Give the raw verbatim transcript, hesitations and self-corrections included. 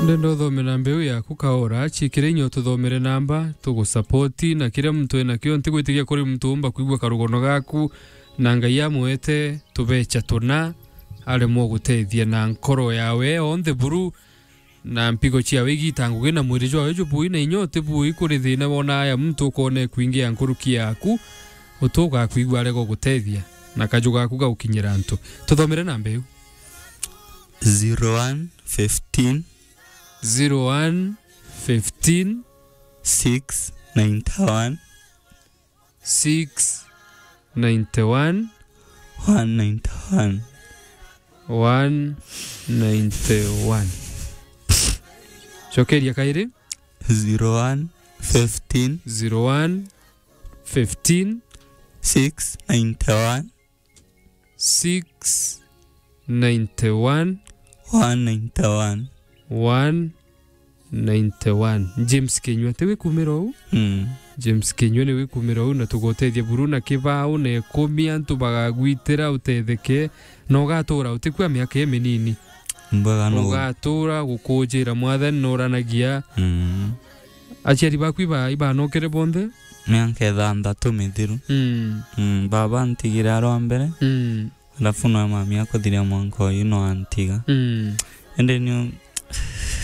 Ndenda uthome namba iu yaku kaora, ciikire inya ututhomere namba, tugusapoti, na kiria muntu enakio, ntigwitikia kuri muntu umba kwigua karugono gaku, na Ngai amwete tubecha tuna, aremwe gutethia na nkoro yawe onthe buru, na mpigo ciawe igita ngugi, na mwiri jwawe jubui, na inya utibui kuri thina wona aya muntu ukone kwingia nkuruki yaku, utugakwigua arega gutethia, na kaju gaku gaukinyira antu. Tuthomere namba iu. Zero one fifteen. Zero one fifteen. Six ninety one. Six ninety one. One ninety one. One ninety one. Cokeria kairi. Zero one fifteen. Zero one fifteen. Six ninety one. Six ninety one. One ninety one. One ninety one. James Kinyua, ti wikumira uu? Mm. James Kinyua ni wikumira uu, na tugotethia buru na kibao na ikumi, antu bagagwitira utetheke, na ugatura utikua miaka iminini. Mbega no. Ugatura gukujira Mwathani, noranagia. Mm. Aciari baku iba-, ibanokere bonthe? Miaka ithanthatu mithiru. Mm. Mm, baba antigire arwa mbere. Mm. Alafu no mami akuthiria mwanka uyu no antiga. Mm. Indi niu